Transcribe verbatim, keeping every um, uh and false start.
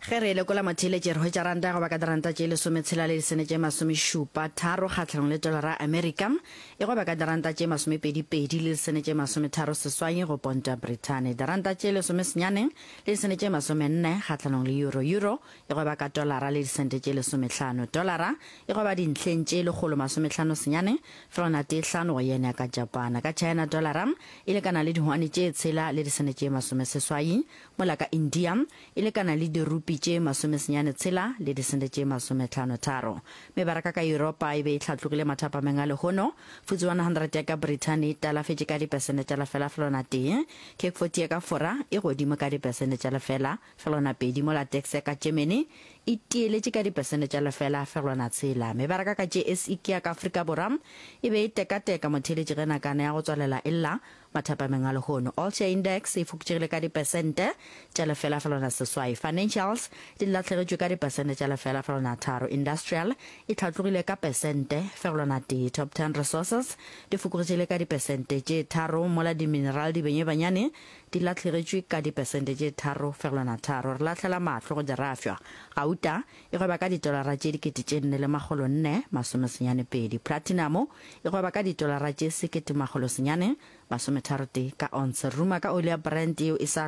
Ge re e lekola motheeletši, re hwetša ranta ya go ba ka diranta tše lesometshela le disene tše masomešupa tharo kgahlanong le tolara ya Amerika, e go ba ka diranta tše masomepedi pedi le disene tše masometharo seswai go ponto ya Brithani, diranta tše lesomesenyane le disene tše masomenne kgahlanong le euro, euro e go ba ka tolara le disente tše lesomehlano, tolara e go ba dintlheng tše lekgolo masomehlano senyane fegelwana tee hlano go yen ya ka Japana. Ka China tolara e lekana le dihwane tše tshela le disene tše masomeseswai, mola ka India e lekana le dirupi tše masomesenyane tshela le disente tše masometlhano tharo. Mebaraka ka Yuropa e be e hlatlogile mathapameng a lehono. Futse one hundred ya ka Brithani e talafetše ka dipesente tša lefela felwana tee, Cake forty ya ka Fora e godimo ka dipesente tša lefela felwana pedi, mola Dax ya ka Germany e tieletše ka dipesente tša lefela fegelwana tshela. Mebaraka ka J S E ke ya ka Afrika Borwa e be e tekateka motheeletši ge nakana ya go tswalela e lla mathapameng a lehono. All Share Index e fokotšegile ka dipesente tša lefela felwana seswai. Financials di lahlegetšwe ka dipesente tša lefela felwana tharo. Industrial e hlatlogile ka pesente fegelwana tee. Top Ten Resources di fokogetšegile ka dipesente tše tharo mola di-mineral dibenyebanyane di lahlegetšwe ka dipesente tše tharo fegelwana tharo. Re lahlela mahlo go dirafšwa. Gauta e gweba ka ditolara tše dikete tše nne le makgolo nne masome senyane pedi. Platinum e gweba ka ditolara tše sekete makgolo senyane masometharo tee ka onse. Ruma ka oli ya Brent yeo e sa